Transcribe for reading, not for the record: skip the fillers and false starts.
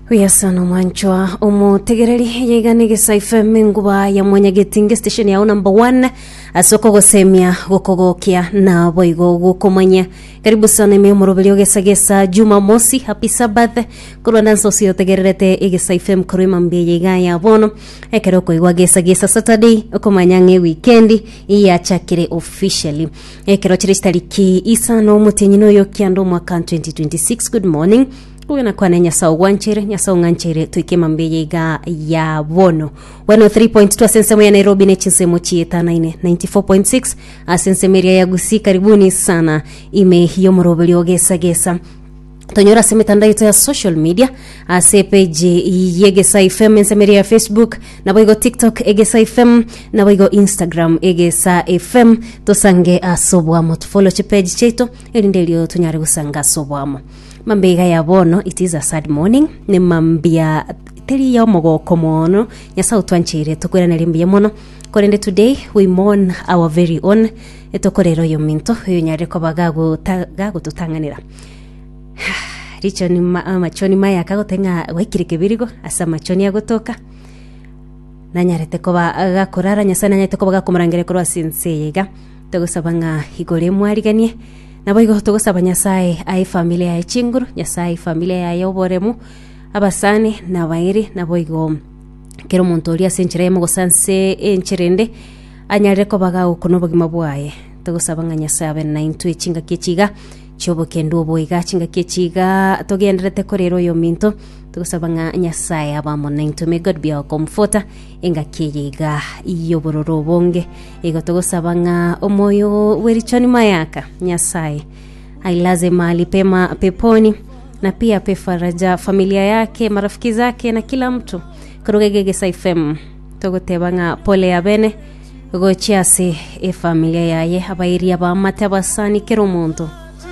Buya sana omwanchwa omotegereri yaiga ne Gesa FM enguba ya mwanyagetinge station yao number one ase okogosemia gokogokia na boigo gokomanya karibu sana ime omoroberi ogesa gesa jumamosi happy sabbath korwa nanse ase otegererete egesa FM korwa emambia yaiga ya bono ekero okoigwa gesa gesa saturday okomanya ng'a ewikendi yachakire officially ekero chire chitariki isano omotienyi noyo kianda omwaka 2026 good morning Kogena kwane Nyasae ogwancheire, Nyasae ong'ancheire toike mambia eye iga ya bono. 103.2 ase ensemo ya Nairobi ne chinsemo chietanaine 94.6 ase ensemo eria ya Gusii. Karibuni sana ime y'omoroberio gesa gesa tonyora ase emetandao yaito ya social media ase epeji y'Egesa FM ensemo eria ya Facebook naboigo TikTok Egesa FM naboigo Instagram Egesa FM tosange ase oboamo tofollow chipeji chiaito erinde erio tonyare gosanga ase oboamo Mambia iga ya bono, it is a sad morning, ne mambia teri ya omogoko mono, Nyasae otwancheire tokoiraneria mbuya mono, korende today we mourn our very own, etokorera oyominto oyonyarire koba gagota gagototang'anera. Richoni ma amachoni maya akagote ng'a gwaikire kebirigo ase amachoni agotoka, nanyarete koba gakorara Nyasae nanyarete koba gakomorangeria korwa ase ense eye iga, togosaba ng'a igoro emwariganie. Naboigo togosaba Nyasae ae efamilia yaye chinguru, Nyasae ae efamilia yaye oboremu, abasani na abairi, naboigo kera omonto oria ase enchera eyemo gose ase enchera ende, anyarire koba gagokuna obogima bwaye. Togosaba ng'a Nyasae abe naintwe chingaki echi iga chi'obokendu obo iga, chingaki echi iga togendererete korera oyominto, togosaba ng'a Nyasae abe amo naintwe. May God be our comforter engaki eye iga y'obororo obonge. Igo togosaba ng'a omoyo bw'erichoni mayaka Nyasaye ailaze mahali pema peponi na pia ape faraja familia yake marafiki zake na kila mtu koruga iga Egesa FM togoteba ng'a pole ya bene gochia ase efamilia yaye abairi abamate abasani kera omonto.